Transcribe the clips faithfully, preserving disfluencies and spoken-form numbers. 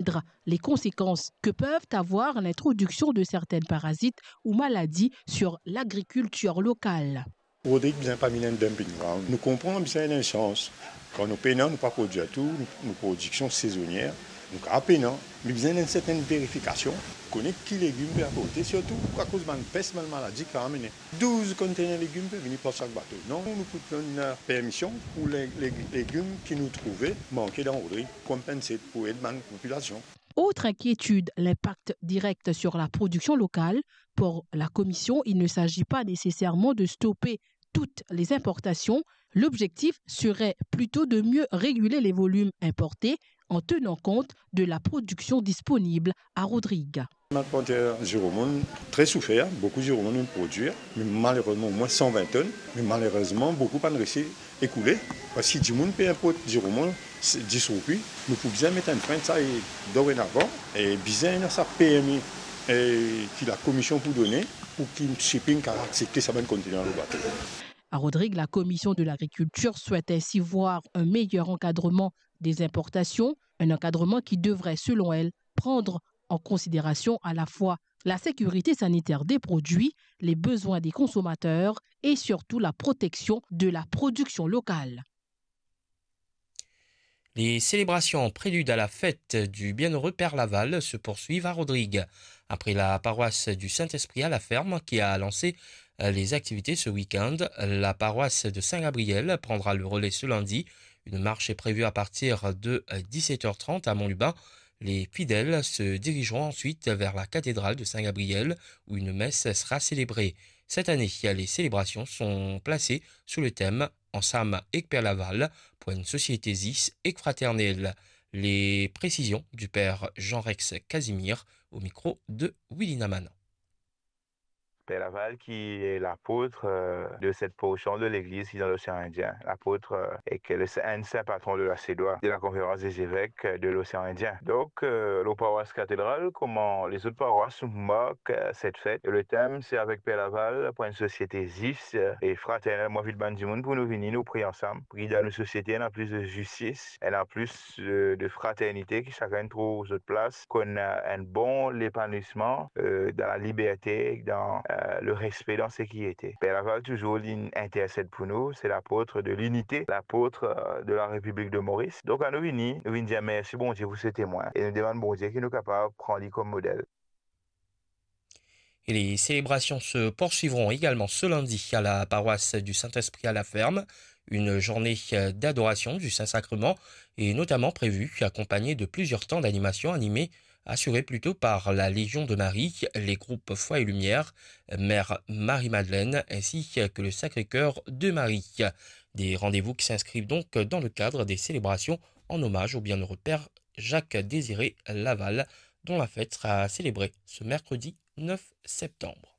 comprendre les conséquences que peuvent avoir l'introduction de certains parasites ou maladies sur l'agriculture locale. Rodrig bizin pa vinn enn dumping ground. Nou konpran bizin enn sans. Kan nou pena, nou pa prodwir tou, nou, nou prodiksion sezonier, nou kapav pena. Me bizin enn sertenn verifikasion, kone ki legim pe aporte, sirtou akoz bann pes, bann maladi ki amene. Douz kontener legim pe vini par sak bato. Non, nou pou donn, eh, permision pou le, le, legim ki nou trouve manke dan Rodrig, konpense pou ed bann popilasion. Autre inquiétude, l'impact direct sur la production locale. Pour la Commission, il ne s'agit pas nécessairement de stopper toutes les importations. L'objectif serait plutôt de mieux réguler les volumes importés en tenant compte de la production disponible à Rodrig. Bann plantè ziromonn tre soufer, boukou ziromonn inn prodwir, me malerezman omwin san vin tonn, me malerezman boukou pa'nn resi ekoule, parski dimoun pe inport ziromonn, se dis roupi, nou pou bizin met enn fren sa e dorenavan, e bizin ena sa permi, e ki lakomision pou done, pou ki shipping kapav aksepte sa bann kontener lor bato. À Rodrig, la Commission de l'Agriculture souhaite ainsi voir un meilleur encadrement des importations, un encadrement qui devrait, selon elle, prendre en considération à la fois la sécurité sanitaire des produits, les besoins des consommateurs et surtout la protection de la production locale. Les célébrations en prélude à la fête du bienheureux Père Laval se poursuivent à Rodrig. Après la paroisse du Saint-Esprit à la Ferme qui a lancé, euh, les activités ce week-end, la paroisse de Saint-Gabriel prendra le relais ce lundi. Une marche est prévue à partir de, euh, dix-sept heures trente à Montlubin. Les fidèles se dirigeront ensuite vers la cathédrale de Saint-Gabriel où une messe sera célébrée. Cette année, les célébrations sont placées sous le thème Ansam ek Per Laval pour une société zis ek fraternelle. Les précisions du père Jean-Rex Casimir au micro de Willy Namanan. Père Laval qui est l'apôtre, euh, de cette portion de l'église qui est dans l'océan Indien. L'apôtre, euh, est que le saint, un saint patron de la CEDOA, de la conférence des évêques, euh, de l'océan Indien. Donc, euh, lor paroisse cathédrale, kouma lezot paroisse, nou mark, euh, cette fête. Et le thème, c'est avec Père Laval pour une société zis, euh, et fraternelle. Mo invit bann dimoun pou nou vini, nou priye ansam, pou ki dan nou sosiete ena plis de zistis, ena plis, euh, de fraternité, ki sakenn trouv zot plas, konn, euh, enn bon lepanouisman, euh, dan laliberte, dan, euh, lerespe, dan sekirite. Père Laval touzour li intersèd pou nou, c'est l'apôtre de l'unité, l'apôtre, euh, de la République de Maurice. Donk, anou vini, nou vinn dir mersi Bondie pou se temwin, e nou demann Bondie ki nou kapav pran li kom model. Et les célébrations se poursuivront également ce lundi à la paroisse du Saint-Esprit à la Ferme. Une journée, euh, d'adoration du Saint-Sacrement est notamment prévue, accompagnée de plusieurs temps d'animation animés, assurés plutôt par la Légion de Marie, les groupes Foi et Lumière, Mère Marie-Madeleine, ainsi que le Sacré-Cœur de Marie. Des rendez-vous qui s'inscrivent donc dans le cadre des célébrations en hommage au bienheureux père Jacques Désiré Laval, dont la fête sera célébrée ce mercredi neuf septembre.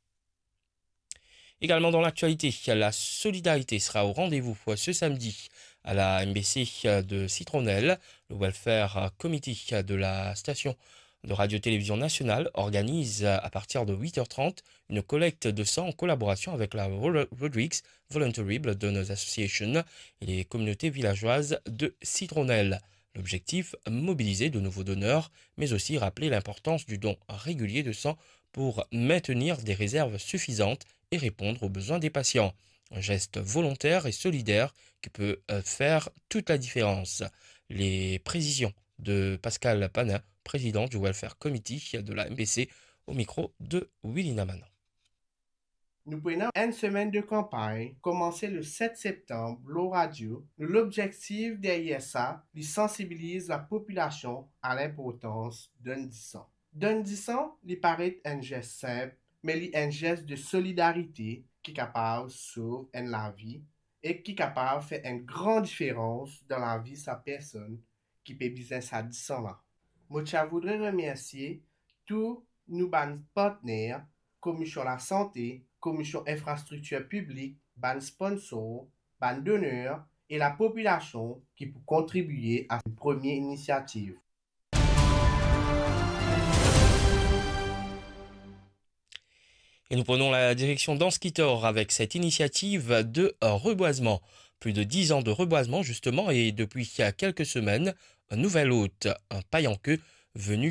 Également dans l'actualité, la solidarité sera au rendez-vous ce samedi à la M B C de Citronnelle. Le Welfare Committee de la station de Radio-Télévision Nationale organise à partir de huit heures trente une collecte de sang en collaboration avec la Ro-, Rodrigues Voluntary Blood Donors Association et les communautés villageoises de Citronnelle. L'objectif, mobiliser de nouveaux donneurs, mais aussi rappeler l'importance du don régulier de sang pour maintenir des réserves suffisantes et répondre aux besoins des patients. Un geste volontaire et solidaire qui peut, euh, faire toute la différence. Les précisions de Pascal Panin, président du Welfare Committee de la M B C, au micro de Willy Namanan. Nou pou ena enn semenn de kanpagn, koumanse le set septanm, lor radio. Nou lobzektif deryer sa, li sansibiliz lapopilasion a linportans donn disan. Donn disan, li paret enn zes sinp, me li enn zes de solidarite ki kapav sov enn lavi e ki kapav fer enn gran diferans dan lavi sa personn ki pe bizin sa disan la. Mo ti a voudre remersie tou nou bann partner, Komisyon Lasante, Komisyon Infrastriktir Piblik, bann sponsor, bann doner e lapopilasion ki pou kontribie a premie inisiativ. Et nous prenons la direction d'Anse Kithor avec cette initiative de reboisement. Plus de dix ans de reboisement, justement, et depuis quelques semaines, un nouvel hôte, un paillanqueux, venu.